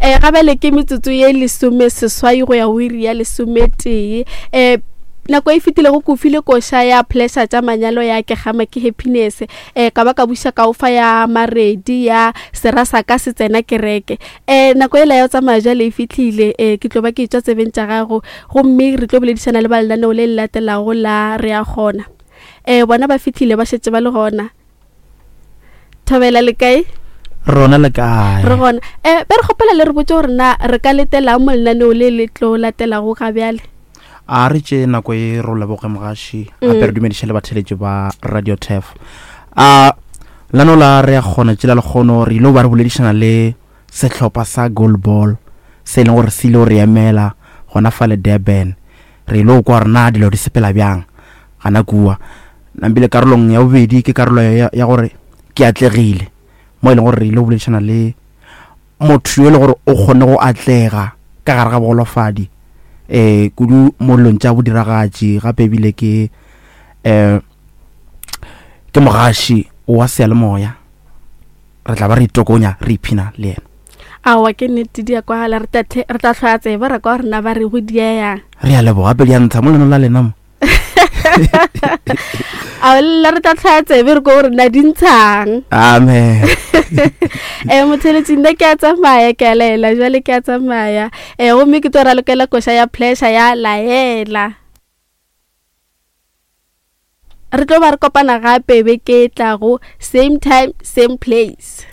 Um gabjale ke metsotso ye lesomeseswai go ya go iri ya lesometee. Um nako e fetilego ke o file koša ya pleasure tša manyalo ya ke gama ke happiness. Um ka ba ka buša ka o fa ya maredi ya sera sa ka se tsena kereke. Um nako ela ya go tsamaya jale e fihlile. Um ke tlo ba ke etšwa tsebeng tša gago gomme re tlo boledišana le ba lenaneo le le latelago la Re a Kgona. Um bona ba fihlile ba šetše ba le gona. Thobela le kae? Rona le kae? Re gona. Eh, be re kgopela le re botse gore na re ka letelang mo lenaneo le le tlo latelago ga bjale. A re tše nako e ro leboge mogaši gape re dumediše le batheletši ba Radio Turf. A lenaneo la re ya kgona tšela lekgono re ile ba re boledišana le sehlopha sa goalball se e leng gore se ile go re emela gona fale Durban. Re ile go kwa gore na dilo di sepela bjang gana kua. Nampile karolong ya bobedi ke karolo ya, ya gore ke atlegile mo e leng gore re ile go boledišana le motho yo e le gore o kgone go atlega ka gare ga bogolofadi um kudu mo dilong tša bodiragatši gape ebile ke um ke mogaši wa seyalemoya re tla ba re itokonya re iphina le yena. Aowa ke nnete di a kwagala re tla hlwaya tsebe ra kwa gore na ba re go dieyang. Re a leboga gape di a ntsha mo leno la lena mo. A lla re tla tlhaya tsebe re ko gore na di ntshang. Amen. Um motheletši nna ke a tsamaya ke a laela jale ke a tsamaya. Um gomme ke tlo ralokela koša ya pleasure ya laela. Re tlo ba re kopana gape beke e tlago same time same place.